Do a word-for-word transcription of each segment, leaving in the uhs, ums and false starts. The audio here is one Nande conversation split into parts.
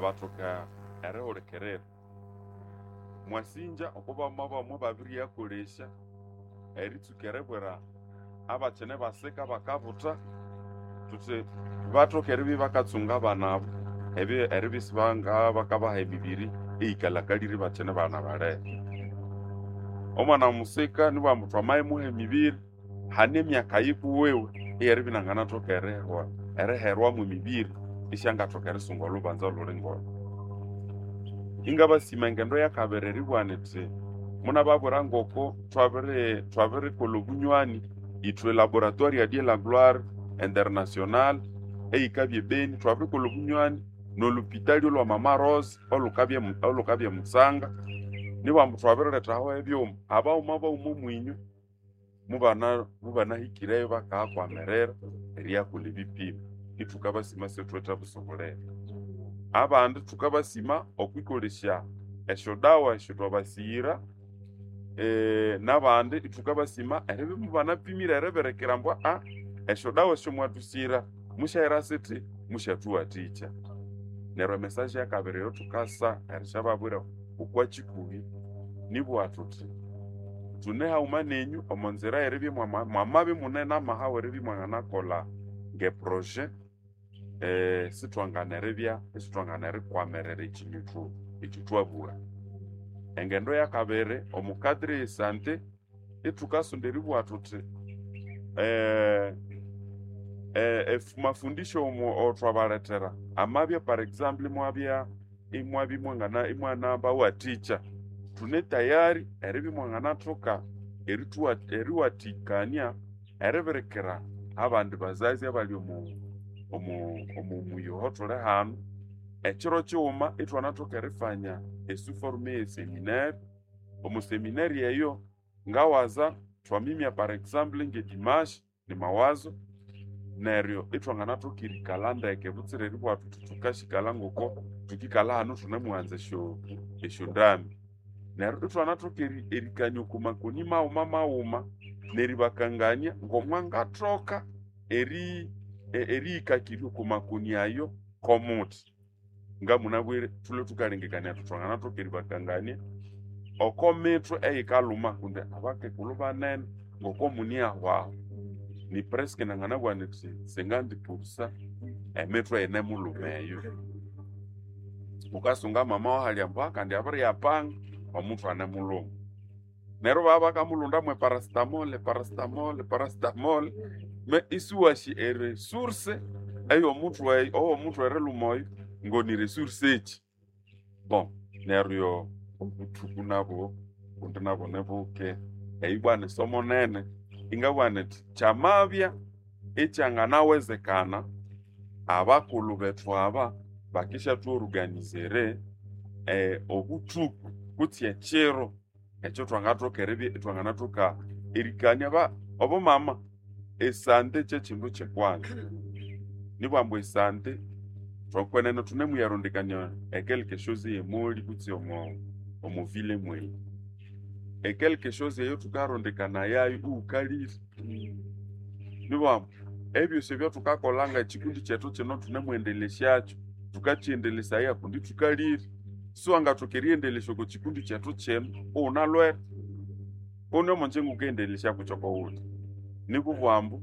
abathoka erihulikirira. Mwasinja oko bamama bamwe babiriyakolesya eritsuka eribwira abakine basika bakabutha thuthi bathoke eribya ibakatsunga abana abo ebi- eribya isibanga bakabaha emibiri eyikalhakalire ibakyine bana balere. Omwana musika nibughambu thwamayimuha emibiri, hane emyaka yikuwiwe eyeribya inanganathoka erihwa eriherwamu emibiri isyangathoka erisunga olhubanza olhuli ngolho. Ingabasima engendo yakabiri eribugha nithi munababwira ngoko thwabiri thwabirikolha obunywani ithwe laboratoire ya Dieu la Gloire International eyikabya e Beni, twabirikolha obunywani n'olhupitali olhwa Mama Rose olhukabya olhukabya e Mutsanga, nibughambu thwabirilethaho ebyuma, abaghuma baghuma omwinywe mubana mubanahikireyo bakayakwamirira eriyakolha ebipimo, ithukabasima isithuwithe busu bulere. Abandi thukabasima okwikolesya esyodawa esyathwabasighira, n'abandi ithukabasima eribya mubanapimire eribirikira ambu aa esyodawa esyomwathusighira musyahera sithi musyathuwathikya. Neryo emessage yakabiri eyathukasa erisyababwira okwa kikuhi nibugha thuthi thune haghuma nenyu omo nzira eyeribya mwama mwamabya imune namaha weribya imwanganakolha nge projet, sithwangana eribya isithwangana erikwamirira ekyindu ekyathwabugha. Engendo yakabiri omu cadre eye sante ithukasonda eribugha thuthi mafundisho awathwabalethera amabya par example imwabya imwabya imwangana imwanabawathikya, thune tayari eribya imwanganathoka erithuwa eriwathikania eribirikira abandi bazazi abali omu omu omu muyi oho thuli hanu, ekiro kighuma ithwanathoka erifanya e sous forme eye seminaire. Omu seminaire eyo ngawaza thwamimya par example nge dimanche ni mawazo, neryo ithwanganathoka erikalha ndeke butsira eribugha thuthi thukasyikala ngoko thukikalha hanu thunemuwanza esyo esyondambi. Neryo ithwanathoka erikania oko makoni maghuma maghuma neribakangania ngomwangathoka eri eriyikakirya oko makoni ayo komuthi. Ngamunabwire thulhwe thukalengekania thuthi thwanganathoka eribakangania oko mithwe eyikalhuma kundi abakekulhu banene ngoko muniahwaho ni presque nanganabugha nithi cinquante pour cent emithwe yinemulhuma eyo. Wukasunga mama wahalya ambu kandi abiriyapanga omuthwe anemulhuma. Neryo ibabya bakamulhunda mwe paracetamol, paracetamol, paracetamol me isiwasi eresource eyomuthwe owomuthwe erilhuma oyo ngoni resource kyi. Bon neryo obuthuku nabwo kundi nabwo nibuke, eyi bwa nisomo nene ingabugha nithi kyamabya ikyanganawezekana abakulhu bethu aba bakisyathworganizere obuthuku kutse ekiro ekyathwangathoka eribya ithwanganathoka erikania ba obumama esante kyekyindu kyekwanza. Nibughambu esante thokwenene thunemuyarondekania e quelque chose eyemoli kutse omo omo ville mweyi. E quelque chose eyo thukarondekanayayo iwukalire. Nibughambu ebyosi ebyathukakolha ngekikundi kyethu kino thunemwendelhesyakyo, thukakyendelesaya kundi thukalire. Siwangathoka eriyendelesya oko kikundi kyethu kino iwunalhwere. Kuni omongyingo wukayendelesya kukyo okowuthi. Nikubughambu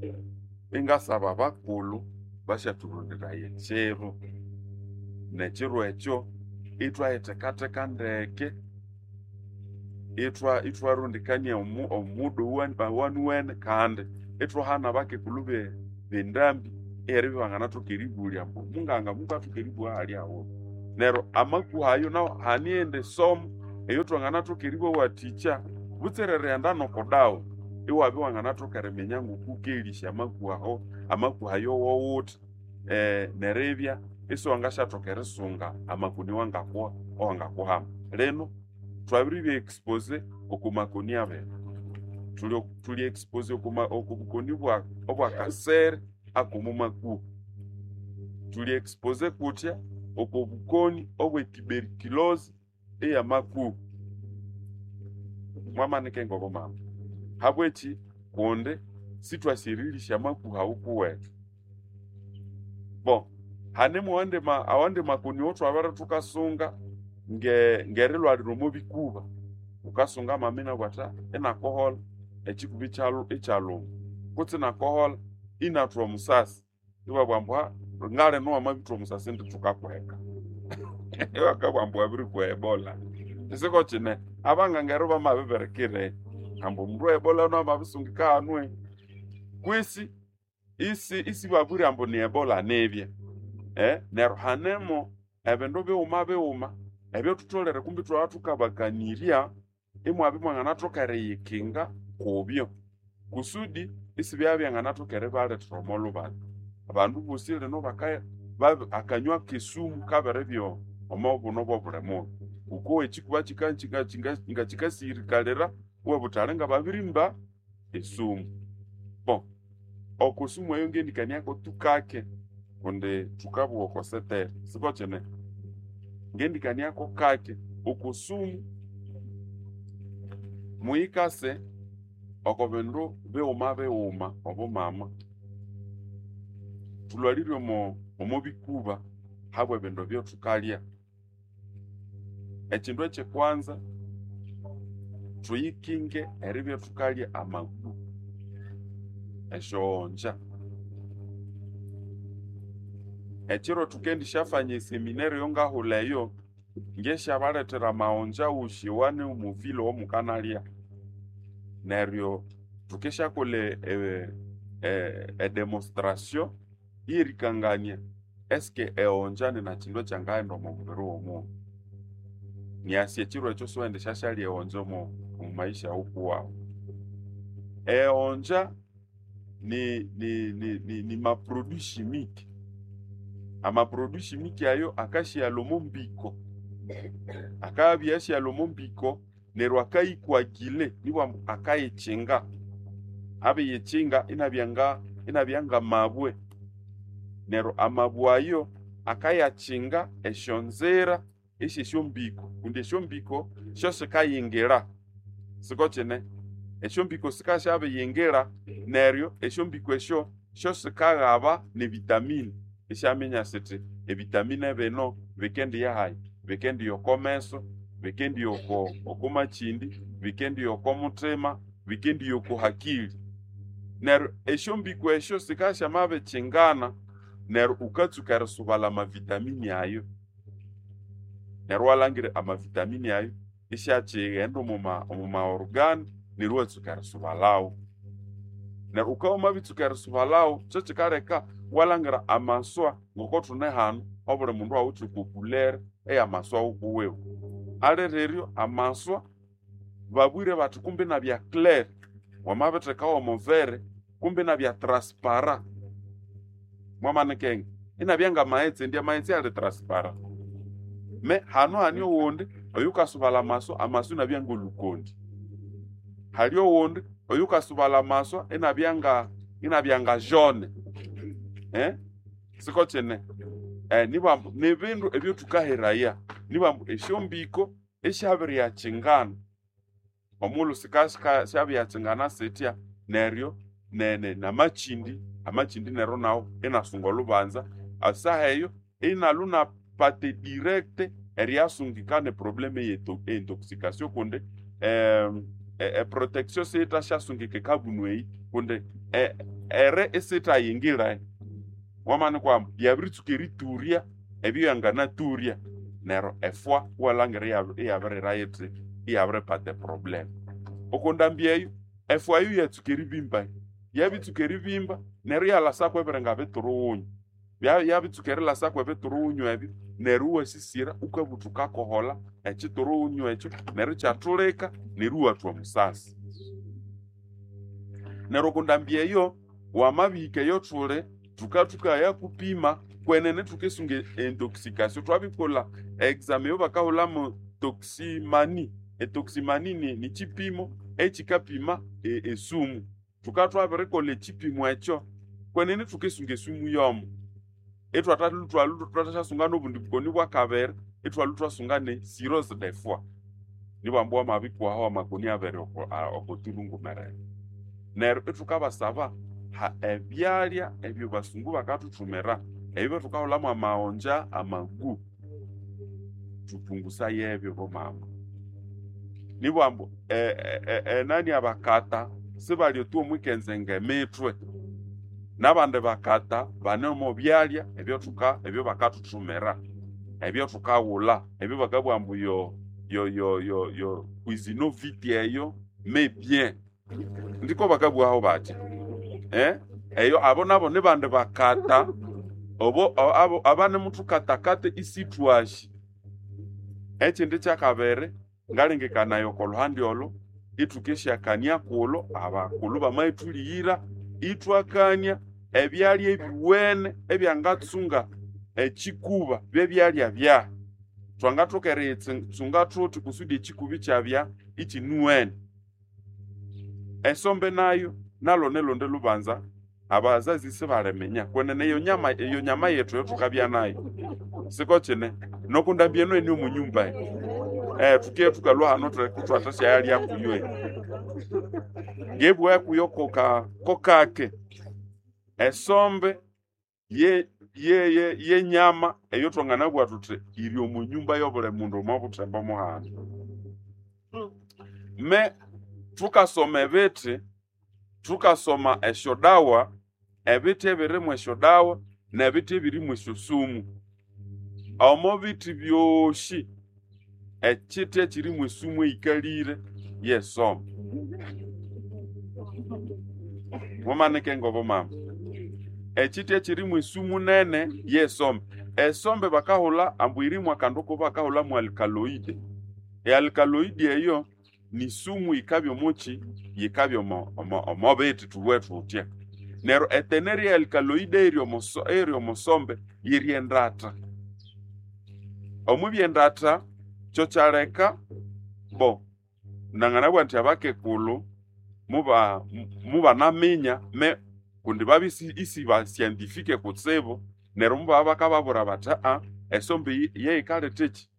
ingasaba abakulhu basyathuronderaye ekyiro, nekiro ekyo ithwayithekatheka ndeke, ithwa ithwarondekania omu omuda owanuwene kandi ithwahana abakekulhu be bendambi eyeribya ibanganathoka eribulya ambu munganga mukathoka eribugha hali haghuma. Neryo amakuha ayo nawu hane eyindi somo eyathwanganathoka eribawathikya butsira erighenda noko dawa, iwabya iwanganathoka eriminya ngoku wukelisya amakuha aho amakuha ayo wowuthi neribya isiwangasyathoka erisunga amakoni awangakuha awangakuhama. Lino thwabiribya expose oko makoni abiri. Thuli thuli expose okuma oko bukoni bwa obwakasere akomo makuha. Thuli expose kuthya oko bukoni obwe tuberculose eyamakuha. Mwamanika ngobumama. Habwekyi? Kundi sithwasi erilisya amakuha awukuwethu. Bon, Hanemo awandi ma awandi makoni owothwabere thukasunga nge ngerilhwalira omo bikuba. Wukasunga mama inabugha athi inakoholha ekikuba ikyalhu ikyalhuma kutse inakoholha inathwa omusasi. Ibabugha ambu ngalino wamabithwa omusasi indi thukakuheka. Ibakabugha ambu wabirikwa ebola. Isiko kine, abanganga ero bamabibirikira ambu omundu we ebola namabisungika hanu kwisi isi isibabwire ambu ni ebola nibya. Eh, neryo hanemo ebindu bighuma bighuma ebyathutholere kumbi ithwabya thukabakanirya imwabya imwanganathoka eriyikinga kubyo kusudi isibyabya byanganathoka eribalethera omo lhubanza. Abandu bosi lino baka babi akanywa kesumu kabiribya omo buno bwobuli mundu. Wukowa ekikuba kika kika ngakikasihirikalira iwabugha wuthi ali ngababirimba esumu. Bon, oko sumu eyo ngendikaniako tu kake kundi thukabugha oko setere, siko kine? Ngendikaniako kake oko sumu muyikase oko bindu bighuma bighuma obumama. Thulhwalire omo omo bikuba habwe bindu ebyathukalya. Ekindu ekyekwanza, thuyikinge eribya thukalya amagu, esyoghonja. Ekiro thukendisyafanya eseminaire eyongahulha eyo, ngesyabalethera amaghonja wosi awane omo vile owomukanalya. Neryo thukisyakolha e- e- edemonstration eyerikangania eske eghonja ninakindu ekyangaghenda omo mubiri womundu. Nyasi ekiro ekyo siwendisyashalya eghonja omo omumaisha wukuwawu. Eghonja ni ni ni ni maproduit chimique. Amaproduit chimique ayo akasyighalha omo mbiko, akabya asyighalha omo mbiko neryo akayikwagile nibwambu akayikyinga, abiyikyinga inabya nga inabya ngamabwe. Neryo amabwe ayo akayakyinga esyonzira esyesyombiko kundi esyombiko syosikayingira, siko kine? Esyombiko sikasyabiyingira neryo esyombiko esyo syosikaghaba nevitamini isyaminya sithi evitamine bino bikendiya hayi, bikendiya oko meso, bikendiya oko oko makyindi, bikendiya oko muthima, bikendiya oko hakili. Neryo esyombiko esyo sikasyamabikyingana neryo wukatsuka erisubalha amavitamini ayo. Neryo iwalhangira amavitamini ayo isyakighenda omuma omuma organe neryo iwatsuka erisubalhawo. Neryo wukabya wamabitsuka erisubalhawo kyekikaleka iwalhangira amaswa ngoko thune hanu obuli mundu awithe oko couleur eyamaswa wukuwiwe. Aliriryo amaswa babwire bathi kumbi inabya clair, wamabithekawo omo verre kumbi inabya transparent. Mwamanikenge inabya ngamaghetse indi amaghetse ali transparent. Me hanu hani owundi oyukasubalha amaswa, amaswa inabya ngolhukondi. Hali owundi oyukasubalha amaswa inabya nga inabya nga jaune. Eh, siko kine? Eh, nibwambu nibindu ebyathukaheraya nibwambu esyombiko esyabiriyakyingana. Omughulhu sikasika syabiriyakyingana sithya neryo nene namakyindi, amakyindi neryo nawu inasunga olhubanza esaha eyo inalwa inapata direct eriyasungika neproblem eye intoxication kundi eprotection siyithasyasungika ekabunu eyi kundi ere isiyithayingira. Wamanikwa yabiritsuka eriturya ebyo yanganaturya neryo efwa iwalhangira iyabirira yithi iyabiripata eproblem. Oko ndambi eyo, efwa eyo yatsuka eribimba, yabitsuka eribimba neryo iyalhasako ebiringa biturughunyu. Yabitsuka erilhasako ebiturughunyu ebyo neryo iwasisira wukabugha wuthi wukakoholha ekiturughunyu ekyo neryo ikyathulika neryo iwathwa omusasi. Neryo oko ndambi eyo wamabihika eyothuli thukathukaya kupima kwenene thukisunga eintoxication thwabikolha exam eyobakahulhamu toximani. Etoximani ni nikyipimo ekyikapima esumu. Thukabya thwabirikolha ekyipimo ekyo kwenene thukisunga esumu yomo. Ithwathalhwa thwathasyasunga nobundi bukoni bwakabiri ithwalhwa ithwasunga ne cirrhose de foie. Nibwambu wamabikuhaho amakoni abiri oko okothurungumerere. Neryo ithukabasaba ebyalya ebyo basungu bakathuthumira Ebyo thukahulhamu amaghonja amagu thupungusaye ebyo bomama. Nibugha ambu e- e- enani abakata sibali otu omwikenzenga emithwe. N'abandi bakata bane omo byalya ebyothuka ebyobakathuthumira, ebyothukawulha, ebyo bakabugha ambu yo yo yo yo yo cuisinovit eyo mais bien. Ndiko bakabughaho bathi eh? Eyo abo nabo nibandi bakata obo abo abanemuthukatakata isithwashi. Ekindi kyakabiri ngalengekanaya oko luhandi olo ithukeshyakania kulo abakulhu bamaghithuliyira ithwakania ebyalya ebiwene ebyangatsunga ekikuba byebyalya byahi. Thwangathoka eriyitsunga thuthi kusudi ekikuba ikyabya ikinuwene. Esombe nayo nalo nilundi lubanza abazazi sibaliminya kwenene eyo nyama eyo nyama yethu eyothukabya nayo siko kine nokundambya eno eni omu nyumba eno eh thukiye thukalhwa hano thwathasyalyalya kuyo eyi ngebugha kuyo koka kokake esombe ye ye ye yenyama eyo thwanganabugha thuthi yiri omu nyumba y'obuli mundu omo buthembo muhano. Me thukasoma ebithi, thukasoma esyodawa, ebithi ebirimu esyodawa n'ebithi ebirimu esyosumu. Omo bithi byosi ekithi ekirimu esumu eyikalire yesombe. Mumanike ngobo mama. Ekithi ekirimu esumu nene yesombe. Esombe bakahulha ambu yirimu akandu kubakahulha mu alkaloide. E alkaloide eyo ni sumu yikabya omuki yikabya omo omo omo bithi thubughe thuthya. Neryo etenere ye alkaloide eyiri omuso eyiri omusombe yiri endatha. Omwibya endatha kyokyaleka bo nanganabugha indi abakekulhu muba mubanaminya me kundi babya isi ba scientifique kutsibu neryo mubabya bakababwira bathi aa esombe eyi yeyikaletha eki?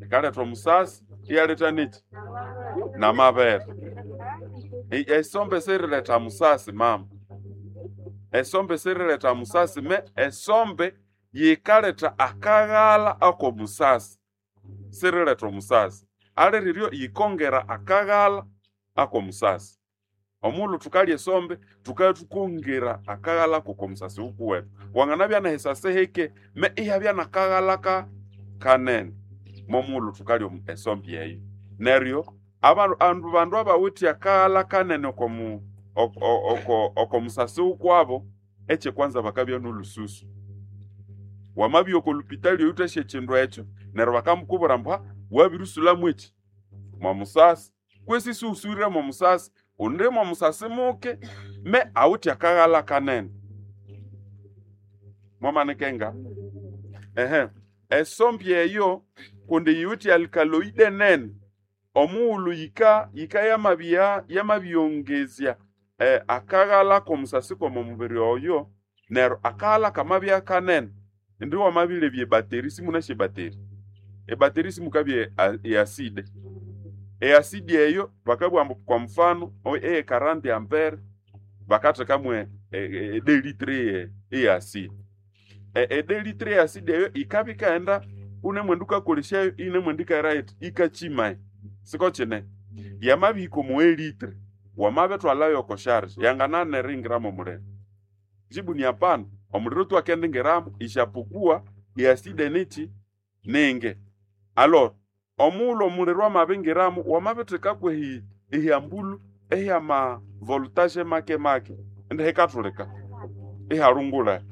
Yikaletha omusasi iyaletha neki? N'amabere. Esombe siyiriletha musasi mama. Esombe siyiriletha musasi me esombe yikaletha akaghalha ak'omusasi, siyiriletha omusasi. Aliriryo yikongera akaghalha ak'omusasi. Omughulhu thukalya esombe thukabya thukongera akaghalha k'okomusasi wukuwethu. Wanganabya nehisasi hike me ihabya n'akaghalha ka kanene momughulhu thukalya esombe eyo. Neryo abandu bandu abawithe akaghalha kanene okomu oko okomusasi wukwabo, ekyekwanza bakabya n'olhususu. Wamabya oko lupitali oyuthasya ekyindu ekyo neryo bakamukubwira ambu wabirisulhamu eki? Mwomusasi. Kwesi isiwusuwire mwomusasi, undi mwomusasi muke me awithe akaghalha kanene. Mwamanikenga? Ehe. Esombe eyo kundi yiwithe alkaloide nene, omughulhu yika yika yamabya yamabiyongezya eh, akaghalha k'omusasi kw'omo mubiri oyo, neryo akaghalha kamabya kanene, indi wamabilebya ebattery simunasi ebattery? Ebattery simukabya e acide. E acide eyo bakabugha ambu kwa mfano eye quarante ampere bakathekamu e deux litres eye acide. E deux litres eye acide eyo yikabya yikaghenda wunemwenda wukakolesyayo iyinemwenda yikaghira yithi yikakyima. Siko kine? Yamabihika omo e litre, wamabithwalhayo oko charge yanganana eringira mw'omuliro? Jibu ni hapana. Omuliro tu akendingiramu isyapokuwa e acide nikyi? Ningi. Alors omughulhu omuliro amabingiramu wamabithekako ehi ehyambulhu ehyama voltage make make indi hikathulika ihalungulha.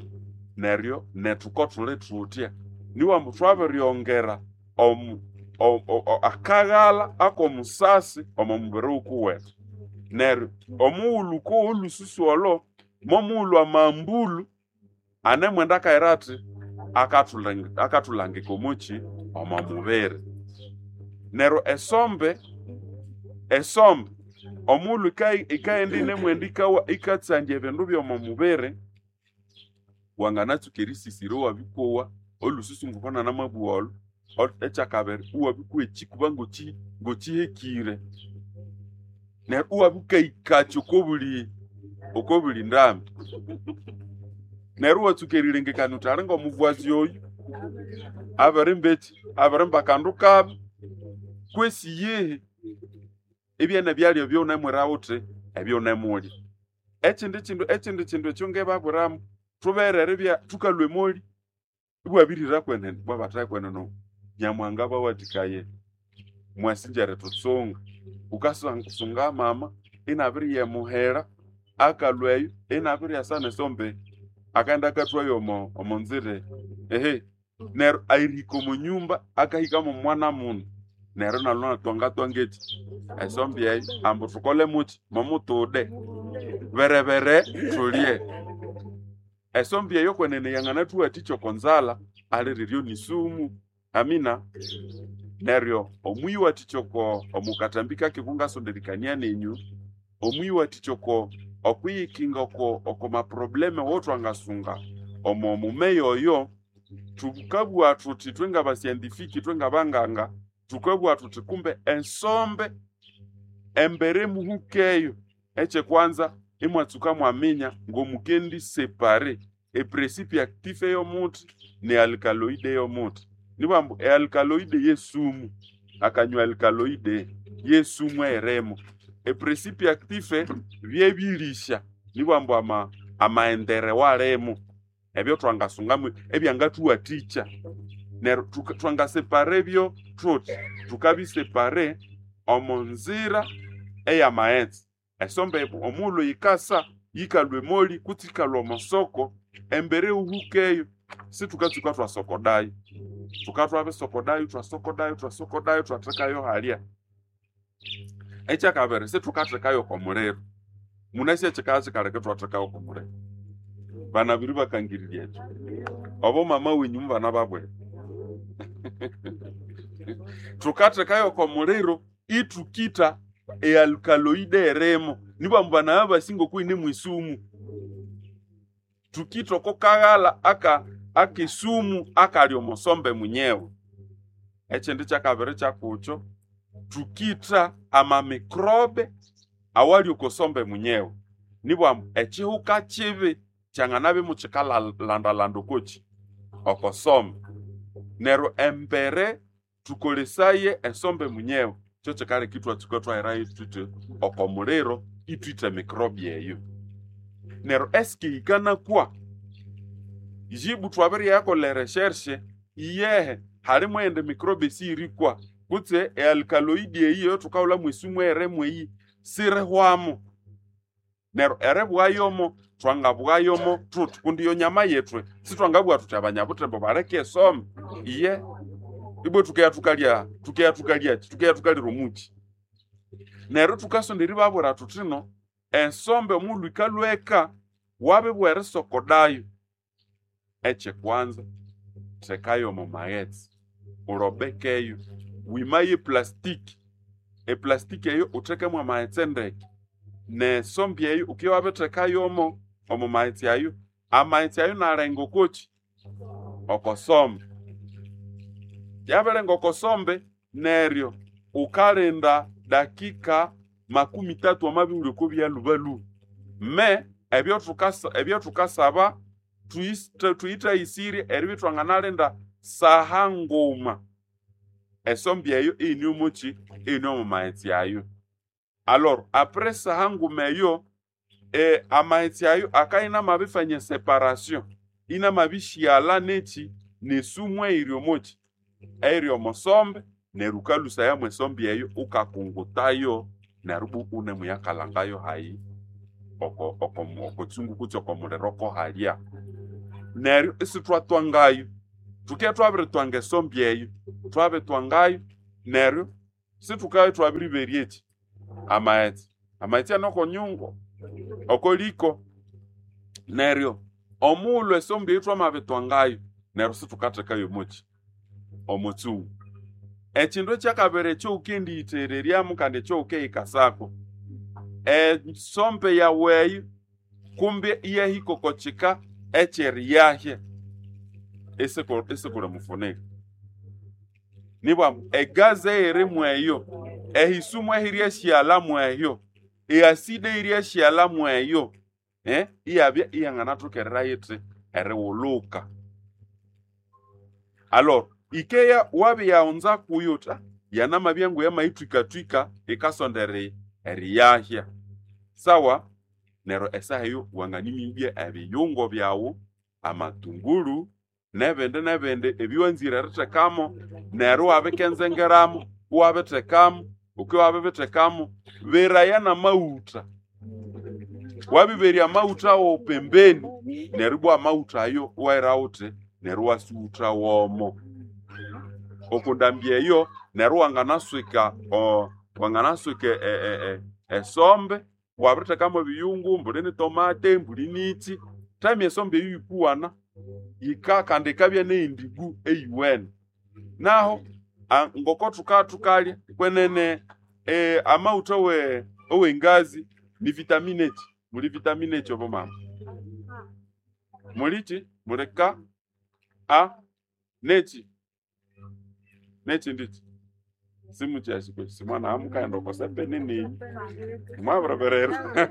Neryo nethu kothuli thuthya niwa ambu thwabiryongera omu akaghalha ak'omusasi omo mubiri wukuwethu. Neryo omughulhu wukowa olhususu olho, momughulhu amambulhu anemwenda akaghira athi akathulangika omukyi? Omo mubiri. Neryo esombe, esombe omughulhu yikaghenda yinemwenda yikatsandya ebindu by'omo mubiri, wanganatsuka erisisira iwabikowa olhususu ngoko nanamabugha olho, ekyakabiri iwabikowa ekikuba ngokyi ngokyihekire. Neryo iwabya wukahikakya okobuli okobuli ndambi. Neryo iwatsuka erilengekania wuthi ali ng'omuvwazi oyu abirimba eki, abirimba akandu kabi kwesi iyihi, ibyene byalya ebyowunemwira wuthi ebyowunemulya. Ekindi kindu ekindi kindu ekyo ngebabwiramu, thubere eribya thukalhwa emoli ibwabirihira kwenene, ibwa bathahi kwenene Nyamuhanga abawathikaye mwasinja eritutsunga. Wukasunga mama inabiriya emuhira, akalhwa eyo inabiryasa nesombe, akaghenda akathwayo omo omonzira ehe, neryo erihika omo nyumba akahika mw'omwana munu, neryo inalhwa inatwangatwanga eki esombe eyo ambu thukole muki momutude berebere thulye. Esombe eyo kwenene yanganathuwathikya oko nzalha aliriryo ni sumu, amina. Neryo omuyiwathikya oko omo kathambi kake kungasonderikania nenyu, omuyiwathikya oko okwiyikinga oko oko maprobleme awatwangasunga omo mumeya oyo, thukabugha thuthi ithwe ngaba scientifique ithwe ngabanganga, thukabugha thuthi kumbe esombe embere muhukeyo, ekyekwanza imwatsuka mwaminya ng'omukendi separer eprincipe actif ey'omuthi ne alcaloide ey'omuthi. Nibwambu ealcaloide yesumu, akanywa alcaloide yesumu eyirimo. Eprincipe actif byebirisya, nibwambu ama amaendere walimo ebyo thwangasungamu ebyangathuwathikya. Neryo thuka thwangasepara ebyo thuthi, thukabisepare omo nzira ey'amaghetse. Esombe omughulhu yikasa yikalhwa emoli kutse yikalhwa omo soko, embere ihuhukeyo sithukatsuka thwasokodayo. Thukabya thwabisokodayo thwasokodayo thwasokodayo ithwathekayo halya. Ekyakabiri sithukathekayo oko muliro. Munasi ekyikabya kyikaleka ithwathekayo oko muliro? Banabiri bakangirirya ekyo. Obo mama wenyu mubanababwira. Thukathekayo oko muliro ithukitha ealcaloide eyirimo, nibwambu banabya basi ng'okuyine mw'esumu. Thukitha oko kaghalha aka akesumu akali omo sombe munyewe. Ekindi kyakabiri kyakukyo, thukitha amamicrobe awali oko sombe munyewe. Nibwambu ekihuka kibi kyanganabya imukikalanda-landa okwaki oko sombe. Neryo embere thukolesaye esombe munyewe, kyokikaleka ithwatsuka ithwaherayo thuthi oko muliro ithwitha emicrobe eyo. Neryo eske yikanakwa? Jibu thwabiriyakolha eresearch, iyehe halimu eyindi microbe esiyirikwa kutse ealcaloide eyi eyathukahulha mw'esumu eyirimu eyi sirihwamu. Neryo eribughayomo thwangabughayomo thuthi kundi iyo nyama yethu sithwangabugha thuthi abanyabuthembo baleke esombe, iye ibwa thukeya thukalya thukeya thukalyaki thukeya thukalira omuki. Neryo thukasonda eribabwira thuthino esombe omughulhu yikalhweka wabibugha erisokodayo, ekyekwanza thekayo omo maghetse, urobekeyo, wimaye eplastic, eplastic eyo uthekemo amaghetse ndeke, n'esombe eyo wukibya wabithekayomo omo maghetse ayo, amaghetse ayo inalenga okwaki oko sombe. Yabirenga oko sombe neryo wukalinda dakika makumi tatu wamabya iwuli okwa lhubalhuba. Me ebyothukasa ebyothukasaba thuyithayisirye eribya ithwanganalinda saha nguma esombe eyo iyine omoki iyine omo maghetse ayo. Alors après saha nguma eyo e, amaghetse ayo akabya inamabifanya eseparation, inamabishyalha neki n'esumu eyiri omoki eyiri omo sombe neryo wukalhusaya mw'esombe eyo wukakungutayo neryo ibwa iwunemuyakalhangayo hayi oko oko oko kyungu kutse oko muliro kohalya. Neryo isithwatwangayo, thukibya thwabiritwanga esombe eyo, thwabitwangayo neryo sithukabya thwabiriberya eki amaghetse. Amaghetse ane oko nyungu oko liko. Neryo omughulhu esombe eyo thwamabitwangayo neryo sithukathekayo omoki omo kyungu. Ekindu ekyakabiri ekyowukendiyithereryamu kandi ekyowukiyikasako, esombe yawu eyo kumbe iyahika oko kika ekyeriyahya isikuli mufunika. Nibwambu egazi eyirimu eyo, ehisumu ehiryashyalha mweyo, eacid eyiryashyalha mweyo eh, iyabya iyanganathokerera yithi eriwuluka. Alors ikeya wabiyaghunza kuyo uthi "Ah, yanamabya nguyamayithwikathwika ikasonda eri eriyahya." Sawa, neryo esaha eyo wanganimibya ebiyungo byawu, amatunguru nebindi nebindi ebyowanzire erithekamo, neryo iwabikenzengeramu iwabithekamu, wuke wabibithekamu, beraya n'amaghutha. Wabiberya amaghutha wawu pembeni, neryo ibwa amaghutha ayo iwahira wuthi neryo iwasughutha womo. Oko ndambi eyo neryo wanganaswika o wanganaswika e- e- e- esombe, wabirithekamu ebiyungu, mbuli ni tomate, mbuli niki, thami esombe eyo yikuwana, yika kandi yikabya neyindigu eyiwene. Naho a- ngoko thuka thukalya kwenene eh, amaghutha awe owengazi ni vitamine ki? Muli vitamine ki obo mama? Muliki? Muli K, A, neki? Nekindi ki? Simukyasi kwesi simwana mukaghenda oko sepe nini mwabireberera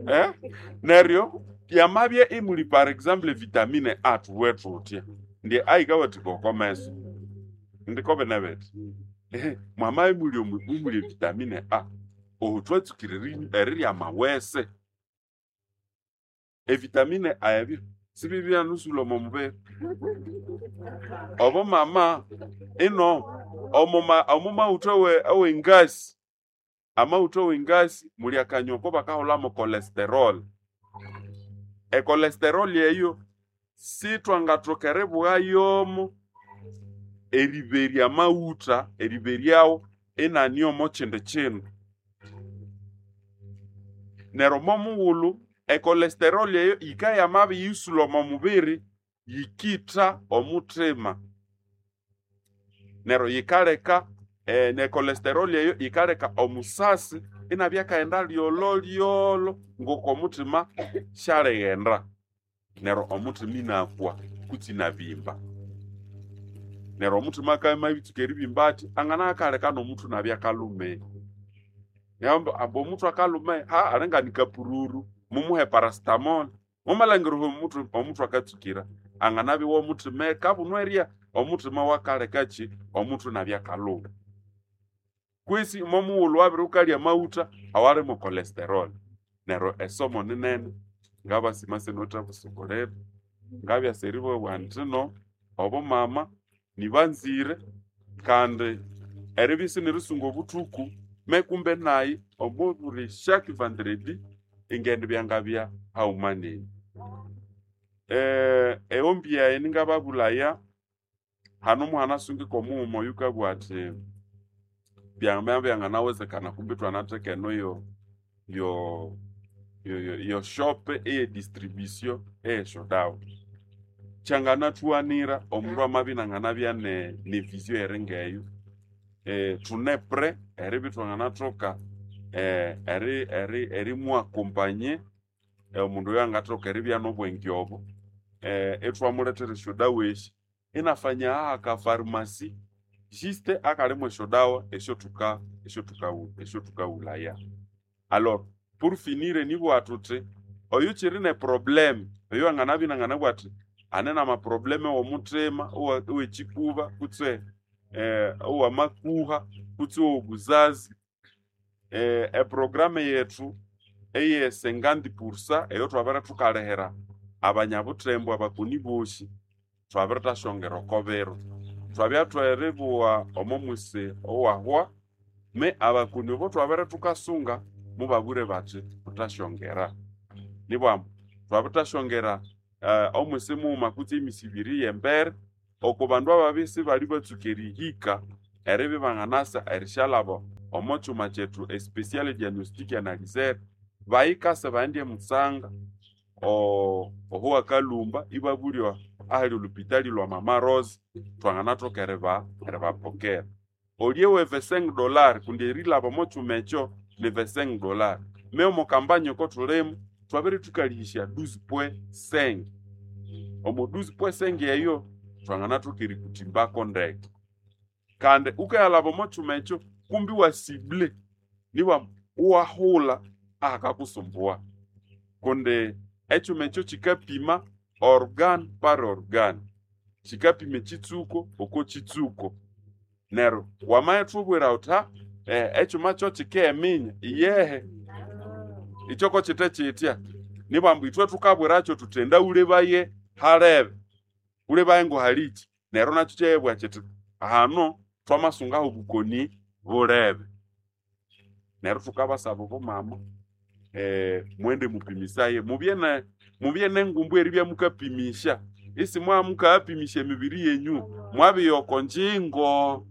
eh? Neryo yamabya imuli par exemple vitamine A thuwe thuthya ndye A yikawathika oko meso ndiko bine bithi ehe mwamabya imuli omu imuli vitamine A oho thwatsukire eri- erirya amawese. Evitamine A ebyo sibibyanusulha omo mubiri. Obo mama ino omo ma- omo maghutha awe awengasi, amaghutha awengasi muli akanywa ako bakahulhamu cholesterol. E cholesterol eyo sithwangathoka eribugha yomo eriberya amaghutha, eriberyawo inani omo kyindi kyindu. Neryo omo mughulhu e cholesterol eyo yikabya yamabiriyisulha omo mubiri, yikitha omuthima. Neryo yikaleka eh, ne cholesterol eyo yikaleka omusasi inabya akaghenda lyolo lyolo ngoko omuthima syalighenda. Neryo omuthima inakwa kutse inabimba. Neryo omuthima akabya amabitsuka eribimba athi, angana akaleka n'omuthu inabya akalume. Neryo ambu omuthu akalume, ha alinga ni kapururu, mumuhe paracetamol. Mumalhangira omuthu omuthu akatsukira, anganabya iwomuthima kabunwa erya, omuthima wakalekaki omuthu inabya akaluma. Kwesi momughulhu wabiri wukalya amaghutha awali mo cholesterol. Neryo esomo ninene, ngabasima sinawithe ngabyasa eribabugha indi no obumama nibanzire kandi eribya isinerisunga obuthuku me kumbe nayi omo buli chaque vendredi ingendibya ngabya haghuma nenyu. Eh, eombi yayi ningababulaya, hano muhanasungika omughuma oyukabugha athi byamabya byanganawezekana kumbi ithwanatheka eno yo yo yo yo yo shop eye distribution eyesyodawa. Kyanganathuwanira omundu amabya inanganabya ne ne vision eringeyo, eh, thune prêt eribya ithwanganathoka eh, eri eri erimwakompanye omundu oyo angathoka eribya nobwenge obo, eh, ithwamulethera esyodawa esi inafanya aka pharmacy juste akalimu esyodawa esyothuka esyothukaghu esyothukahulaya. Alors pour finir nibugha thuthi oyukiri ne problème oyo anganabya inanganabugha athi ane nama problème owomuthima, owa owekikuba kutse eh, owamakuha kutse owobuzazi, eh, eprogramme yethu eye cinquante pour cent eyo thwabere thukalihira abanyabuthembo abakoni bosi thwabirithashongera oko biro. Thwabya thweribugha omo mwisi owahwa me abakoni obo thwabere thukasunga mubabwire bathi thuthasyongera. Nibwambu thwabirithashongera eh, omwisi mughuma kutse emisi ibiri yembere oko bandu ababya isibali batsuka erihika eribya ibanganasa erishalaba omo kyuma kyethu especial diagnostic analyzer, bayikase baghende emutsanga o- oho wakalumba ibabulya ahali olhupitali lwa Mama Rose thwanganathoka eriba eribapokera. Olye we vingt-cinq dollars kundi erilaba omo kyuma ekyo ni vingt-cinq dollars. Me omo kampanya oko thulimu thwabere thukalihisya douze point cinq. Omo douze point cinq eyo thwanganathoka erikuthimbako ndeke. Kandi wukayalaba omo kyuma ekyo kumbi iwa cible nibwa iwahulha ahakakusumbuwa kundi ekyuma ekyo kyikapima organe par organe, kikapima ekitsuko oko kitsuko. Neryo wamayithubwira wuthi ha eh, ekyuma kyo kikeminya, iyehe ikyo ko kite kitya, nibambu ithwe thukabwirakyo thuthi enda wulebaye halebe, wulebaye ngohalikyi, neryo nakyo ikyayabugha kyithi hano thwamasungaho obukoni bulebe. Neryo thukabasaba abomama eh, mwende mupimisaye, mubye ne mubye nengumbu eribya mukapimisya, isimwamukayapimisya emibiri yenyu, mwabya oko ngyingo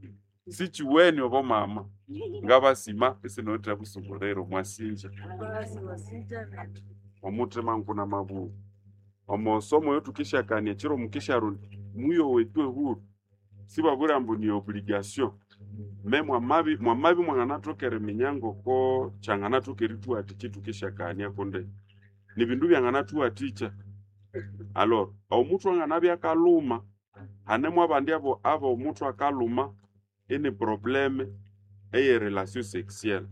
sikiweni obomama. Ngabasima isinawithe busubuliro mwasinja omuthima nguna mabugho. Omusomo oyo thukishyakania ekiro mukisyarundi muyowe tu ehuru, sibabwira ambu ni obligation, me mwamabi mwamabi mwanganathoka eriminya ngoko kyanganathoka erithuwathikya ithukishyakania kundi nibindu byanganathuwathikya. Alors omuthwe anganabya akalhuma, hanemu abandi abo abomuthwe akalhuma ini probleme eye relation sexuelle.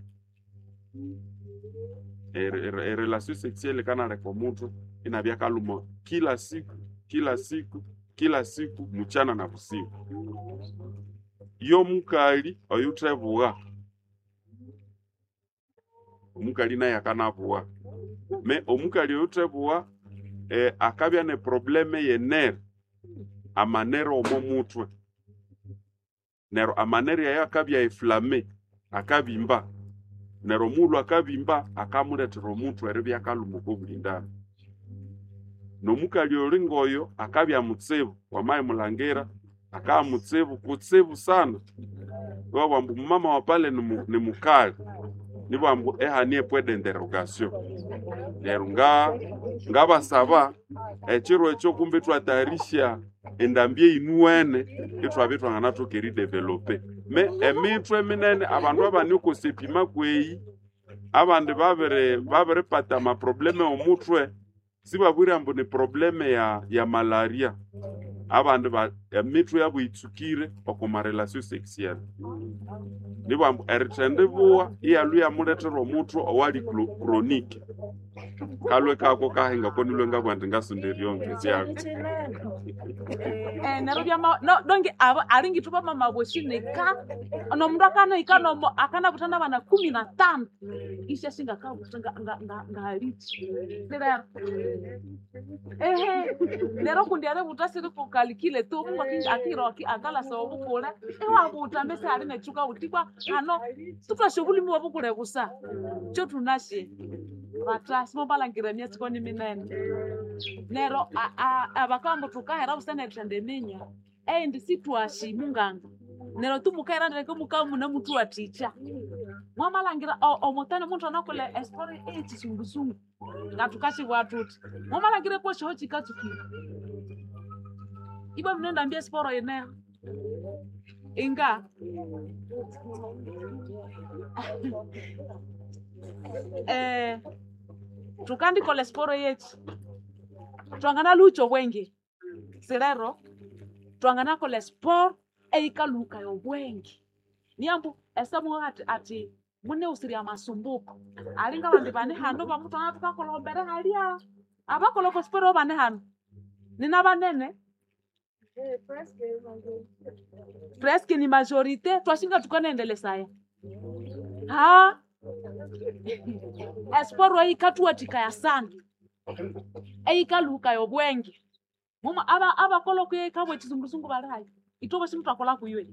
E relation sexuelle yikanaleka omuthwe inabya akalhuma kila siku kila siku kila siku muchana na busiku. Yomukali oyuthebugha, omukali naye akanabugha, me omukali oyuthebugha eh, akabya ne probleme yenere, amanere omo muthwe. Neryo amanere ayo akabya inflammé, akabimba. Neryo omughulhu akabimba akamulethera omuthwe eribya akalhuma oko bulindambi. Nomukali oyuli ngoyo akabya mutsibu, wamayimulangira akabya mutsibu kutsibu sana. Iwabugha ambu mama wa pale ni mukali, nibabugha ambu ehane point d'interrogation. Neryo nga ngabasaba ekiro ekyo kumbi ithwatayarisya endambi eyinuwene ithwabya ithwanganathoka eridevelope. Me emithwe minene abandu abane oko sepima kweyi, abandi babiri babiripata amaprobleme omuthwe, sibabwire ambu ni probleme ya ya malaria. Abandi ba emithwe yabu yitsukire oko ma relation sexuelle. Nibabugha ambu erithendibugha iyalhwa iyamulethera omuthwe owali chronique. Kalhwe kako kahinga ko nilhwe ngabugha indi ngasonda eryongezyako. Eh, neryo byama no donge abo alingi thuba mama boshi nika nomundu akanahika nomo akanabutha nabana kumi na tano isyashinga akabutha nga nga nga ngalichi lero ehe lero kundi aributha siri kukalikile tu Mungu aki- akiro aki- akalasa obukule iwabutha mbese ali netsuka utikwa hano tutashe obulimi bwobukule busa kyo tunashe batasi mobalangira emyatsi ni minene nero abakamba thukahera busa nerithenda eminya eindi sitwashi munganga nero tumukahera ndeke mukaba munemuthuwathikya mwamalhangira omutani omundu anakolha estori eyekisungusungu ngathukasibwa thuthi mwamalhangira kwesyoho kikatsukire ibwa bino endambi esiporo yineho inga eh thukandikolha esiporo yekyi twanganaluhukya obwenge sirero twanganakolha esporo eyikalhuhukaya obwenge niyambu esamuha ati ati munewusirya amasumbuko alinga abandi bane hano bamuthwana thukakolha ombere halya abakolha oko siporo bane hano nina banene presque ni majorité twashinga thukanaendelesaya ha esporo eyikathuwathikaya sana eyikalhuhukaya obwenge muma aba abakolha okuyikabwa ekizungusungu bali hayi ithwe bosi muthakolha kuywe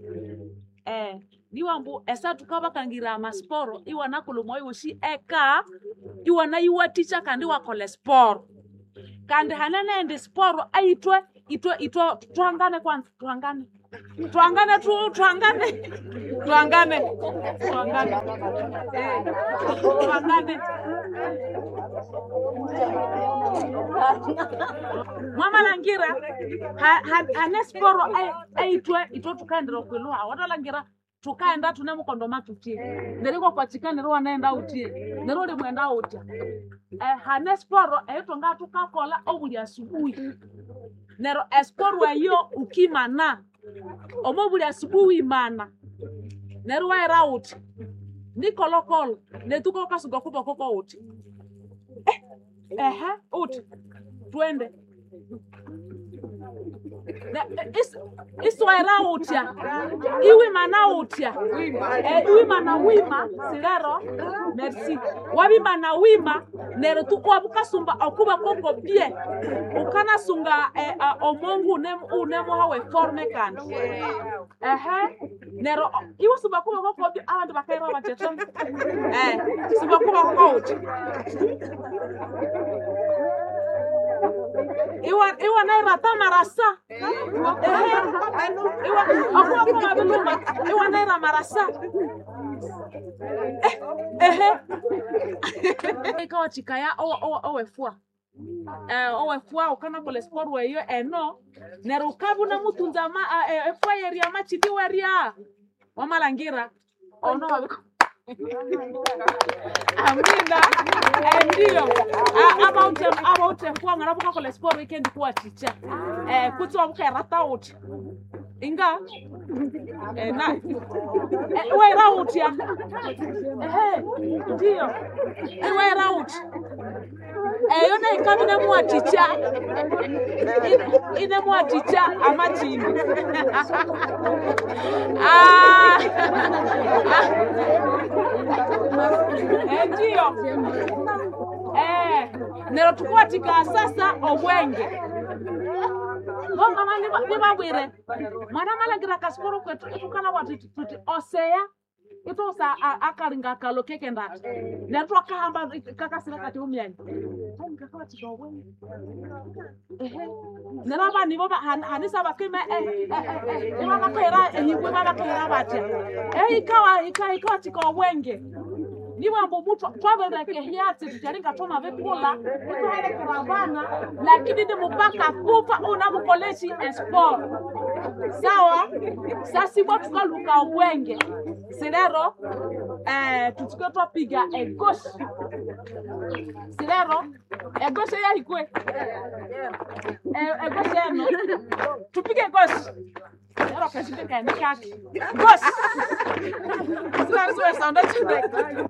eh niwambu esa thukabakangira amasiporo iwanakolha omwayi wosi eka iwanayiwathikya kandi iwakolha esporo kandi hane nendi siporo eyithwe ithwe ithwe thuhangane kwanza thuhangane thuhangane thu thuhangane thuhangane thuhangane eh thuhangane mwamalhangira ha- ha- hane siporo eyithwe ithwe thukaendera okwilhuha wathalangira thukaenda thune mukondo mathuthye neryo ikwakwakika neryo iwanaghenda wuthye neryo ulimwenda wutya eh, hane siporo eyithwanga thukakolha obuli asubuhi neryo esiporo eyo ukimana omo buli asubuhi imana neryo iwaghira wuthi nikolokolo nethuka wukasuka okuboko kowuthi eh, ehe uthi twende Iswera utya iwimana utya eh, iwimana wima silero merci wabimana wima nero tu wabukasumba okuba koko bie ukanasunga eh, uh, omongu unemuha forme kandi ehe nero iwe sumba kuba koko bie abandu bakaira bateta eh sumba kuba koko utya iwa iwa naira marasa ehe iwa akuwa koma biluma iwa naira marasa eh ehe ikawa chikaya owefua eh owefua ukana kole sport weyo eno nero ukabuna mutunza ma efua yeria machidi weria wamalangira ono wabiko amina endio about about efua ngana bukakola sport weekend kuwa chicha eh kutsi wabukaerata uthi inga eh na eh, wera utya ehe ndio iwera uthi eyo neikabi nemuwaticha inemuwaticha amachimbi ah endiyo eh nero tukuwatika sasa obwenge bomama nibabwire mwana malangira kasiporo kwetu itukala wati tuti oseya itosa akalinga kalo kekendati nero twakahamba kakasira kati umyanya nero abani bo hanisa bakime ibabakaira ehibwe babakaira batya ikawa ikawa tika obwenge niwambo mutu twabereke hyatsi tutalinga twama vikula ituhelekera vana lakini ni mupaka kufa unamukoleshi esport sawa sasibwa tukaluka obwenge silero eh, tutuke twapiga egoshi silero egoshi yahikwe egoshi eno tupige goshi lero kashindikaene kake goshi silero siwesonda chindeke.